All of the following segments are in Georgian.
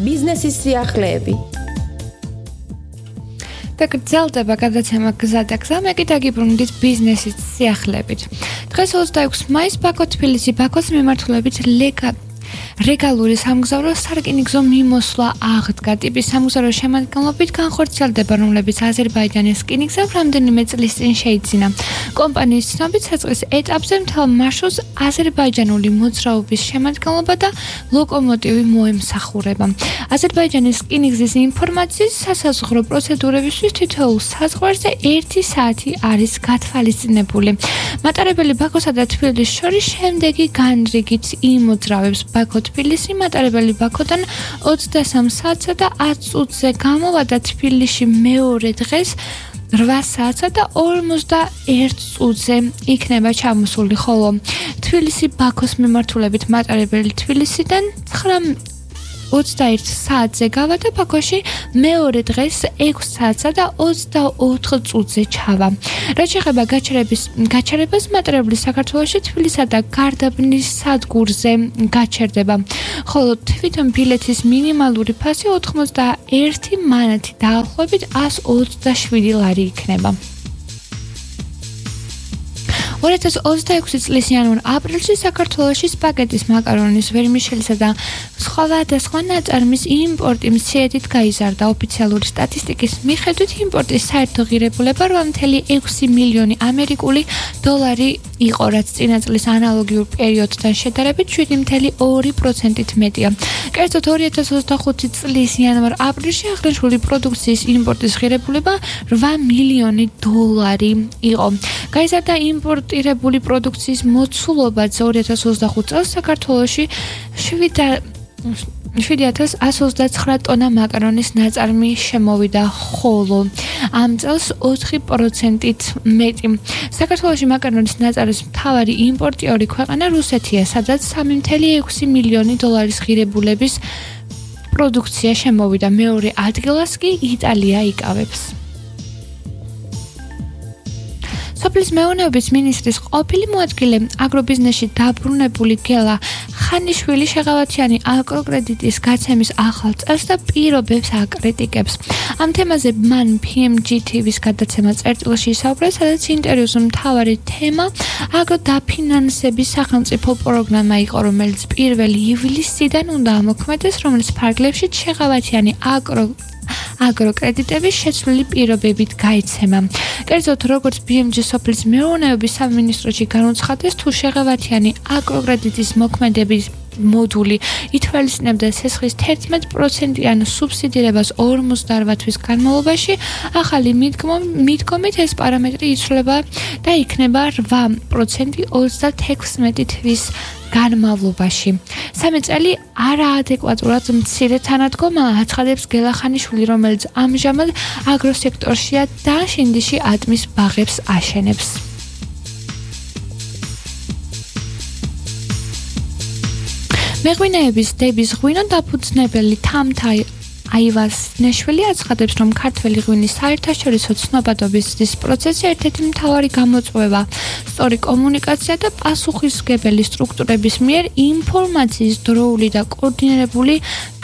ბიზნესის სიახლეები. და გრძელდება გადაცემა გზა და გზა, მე კი დაგიბრუნდით ბიზნესის სიახლეებით. დღეს 26 მაისს ბაქო თბილისი ბაქოს მიმართულებით რეგალური სამგზავრო სარკინიგზო მიმოსვლა აღდგა. ტიპის სამგზავრო შემადგენლობით განხორციელდება, რომლებიც აზერბაიჯანის რკინიგზამ რამდენიმე წლის წინ შეიძინა. კომპანიის ცნობით, საწყის ეტაპზე მთელ მარშრუტს აზერბაიჯანული მოძრაობის შემადგენლობა და ლოკომოტივი მოემსახურება. აზერბაიჯანის რკინიგზის ინფორმაციის სასაზღვრო პროცედურებისთვის თითოეულ საზღვარზე 1 საათი არის გათვალისწინებული. მატარებელი ბაქოსა და თბილისის შორის შემდეგი განრიგით იმოძრავებს: ბაქო თბილისი, მატარებელი ბაქოდან 23 საათსა და 10 წუთზე გამოვა და თბილისში მეორე დღეს 8 საათსა და 51 წუთზე იქნება ჩამოსული, ხოლო თბილისი ბაქოს მიმართულებით მატარებელი თბილისიდან 21 საათზე გავა და ბაქოში მეორე დღეს 6 საათსა და 24 წუთზე ჩავა. რაც შეეხება გაჩერებას, მატარებლი საქართველოში თბილისსა და გარდაბნის სადგურზე გაჩერდება, ხოლო თვითონ ბილეთის მინიმალური ფასი 81 მანათი დაახლოებით 127 ლარი იქნება. 2026 წლის იანვარ-აპრილში საქართველოში სპაგეტის, მაკარონის, ვერმიშელისა და სხვადასხვა ნაწარმის იმპორტი მცირედით გაიზარდა. ოფიციალური სტატისტიკის მიხედვით იმპორტის საერთო ღირებულება 8.6 მილიონი ამერიკული დოლარი იყო, რაც წინა წლის ანალოგიურ პერიოდთან შედარებით 7.2%-ით მეტია. კერძოდ 2025 წლის იანვარ-აპრილში აღნიშნული პროდუქციის იმპორტის ღირებულება 8 მილიონი დოლარი იყო. გაიზარდა იმპორტირებული პროდუქციის მოცულობაც 2025 წელს საქართველოში 7.129 ტონა მაკარონის ნაწარმი შემოვიდა, ხოლო ამ წელს 4%-ით მეტი. საქართველოში მაკარონის ნაწარმის მთავარი იმპორტიორი ქვეყანა რუსეთია, სადაც 3.6 მილიონი დოლარის ღირებულების პროდუქცია შემოვიდა. მეორე ადგილას კი იტალია იკავებს. სოფლის მეურნეობის მინისტრის ყოფილი მოადგილე, აგრობიზნესში დაბრუნებული გელა ხანიშვილი შეღავათიანი აკროკრედიტის გაცემის ახალ წელს და პირობებს აკრიტიკებს. ამ თემაზე მან PMG TV-ს გადაცემა წერტილში ისაუბრა, სადაც ინტერვიუს მთავარი თემა აგროდაფინანსების სახელმწიფო პროგრამა იყო, რომელიც 1 ივლისიდან უნდა ამოქმედდეს, რომელიც ფარგლებში შეღავათიანი აგროკრედიტების შეცვლილი პირობებით გაიცემა. კერძოდ, როგორც BMG სოფლის მეურნეობის სამინისტროში განუცხადეს, თუ შეღავათიანი აგროკრედიტის მოქმედების მოდული ითვალისწინებდა სესხის 11%-იან სუბსიდირებას 48 თვის განმავლობაში, ახალი მიდგომით ეს პარამეტრი იცვლება და იქნება 8% 36 თვის განმავლობაში. 3 წელი არაადეკვატურად მცირე თანადგომა აცხადებს გელა ხანიშვილი, რომელიც ამჟამად აგროსექტორშია და შინდიში ატმის ბაღებს აშენებს. მეღვინეების დების ღვინო დაფუძნებელი თამთა აივაზნეშვილი აცხადებს, რომ ქართველი ღვინის საერთაშორისო ცნობადობის პროცესი ერთ-ერთი მთავარი გამოწვევა სწორი კომუნიკაცია და პასუხისმგებელი სტრუქტურების მიერ ინფორმაციის დროული და კოორდინირებული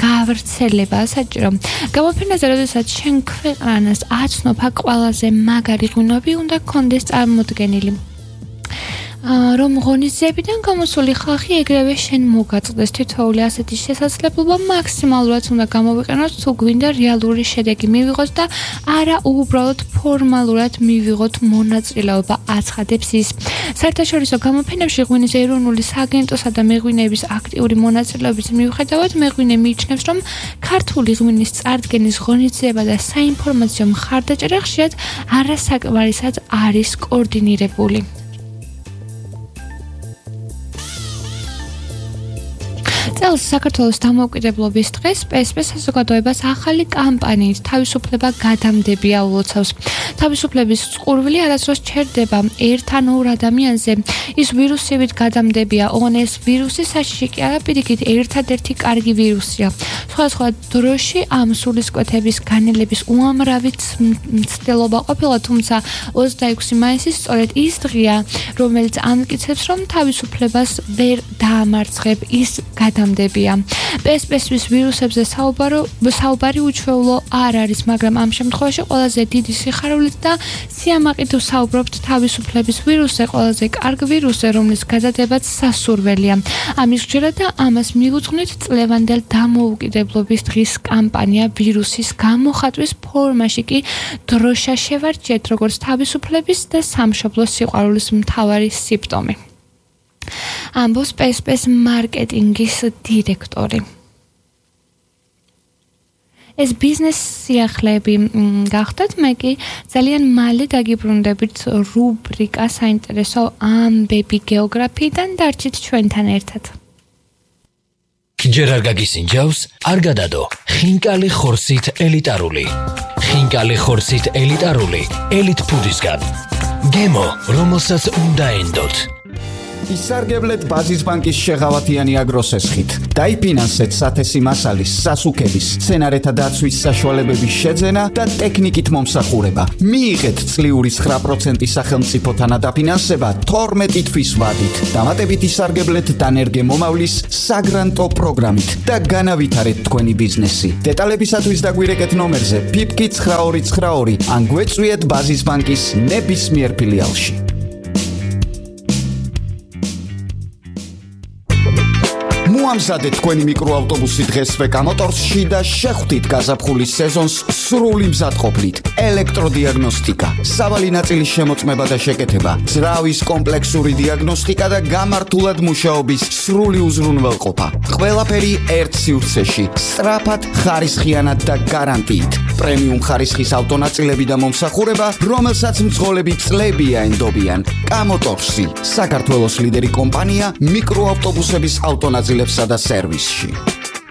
გავრცელება საჭირო. გამოფენაზე, როდესაც შენ ქვეყანას აცნობ, აქ ყველაზე მაგარი ღვინოები უნდა გქონდეს წარმოდგენილი. რომ ღონისძიებიდან გამოსული ხალხი ეგრევე შენ მოგაწყდეს. თითოეული ასეთი შესაძლებლობა მაქსიმალურად უნდა გამოვიყენოთ, თუ გვინდა რეალური შედეგი მივიღოთ და არა უბრალოდ ფორმალურად მივიღოთ მონაწილეობა, აცხადებს ის. საერთაშორისო გამოფენებში ღვინის ეროვნული სააგენტოსა და მეღვინეების აქტიური მონაწილეობის მიუხედავად, მეღვინე მიიჩნევს, რომ ქართული ღვინის წარდგენის ღონისძიება და საინფორმაციო მხარდაჭერა ხშირად არასაკმარისად არის კოორდინირებული. წელს საქართველოს დამოუკიდებლობის დღეს PSP საზოგადოებას ახალი კამპანიით თავისუფლება გადამდებია ულოცავს. თავისუფლების წყურვილი არასდროს ჩერდება ერთ ან ორ ადამიანზე. ის ვირუსებით გადამდებია, ოღონ ეს ვირუსი საშიში კი არა, პირიქით ერთადერთი კარგი ვირუსია. სხვადასხვა დროში ამ სულისკვეთების განელების უამრავი მცდელობა ყოფილა, თუმცა 26 მაისი სწორედ ის დღეა, რომელიც ამტკიცებს, რომ თავისუფლებას ვერ დაამარცხებ, ის გადამდებია. მანამდეებია. PSP-ს ვირუსებზე საუბარი უჩვეულო არ არის, მაგრამ ამ შემთხვევაში ყველაზე დიდი სიხარულით და სიამაყით ვსაუბრობთ თავისუფლების ვირუსზე, ყველაზე კარგ ვირუსზე, რომლის გადადებაც სასურველია. ამის გჯერა და ამას მიუძღვნით წლევანდელ დამოუკიდებლობის დღის კამპანია ვირუსის გამოხატვის ფორმაში კი დროშა შევარჩიეთ როგორც თავისუფლების და სამშობლოს სიყვარულის მთავარი სიმპტომი. ამბობს PSP-ს მარკეტინგის დირექტორი. ეს ბიზნეს სიახლეები გახდათ, მე კი ძალიან მალე დაგიბრუნდებით რუბრიკა საინტერესო ამბები გეოგრაფიიდან დარჩით ჩვენთან ერთად. ჯერ არ გაგისინჯავს, არ გადადო. ხინკალი ხორცით ელიტარული. ხინკალი ხორცით ელიტარული, ელიტ ფუდისგან. გემო, რომელსაც უნდა ენდოთ. ისარგებლეთ ბაზის ბანკის შეღავათიანი აგროსესხით. დაიფინანსეთ სათესი მასალის, სასუქების, სცენარეთა დაცვის საშუალებების შეძენა და ტექნიკით მომსახურება. მიიღეთ წლიური 9% სახელმწიფო თანადაფინანსება 12 თვის ვადით. დამატებით ისარგებლეთ დანერგე მომავლის საგრანტო პროგრამით და განავითარეთ თქვენი ბიზნესი. დეტალებისათვის დაგვირეკეთ ნომერზე PIPKI 9292 ან გვეწვიეთ ბაზის ბანკის ნებისმიერ ფილიალში. მოამზადეთ თქვენი მიკროავტობუსი დღესვე კამოტორსში და შეხვდით გაზაფხულის სეზონს სრული მზადყოფნით. ელექტროდიაგნოსტიკა, სავალი ნაწილის შემოწმება და შეკეთება, ძრავის კომპლექსური დიაგნოსტიკა და გამართულად მუშაობის სრული უზრუნველყოფა. ყველაფერი ერთ სივრცეში, სწრაფად, ხარისხიანად და გარანტიით. პრემიუმ ხარისხის ავტონაწილები და მომსახურება, რომელსაც მძღოლები წლებია ენდობიან. კამოტორსი, საქართველოს ლიდერი კომპანია მიკროავტობუსების ავტონაწილებსა და სერვისში.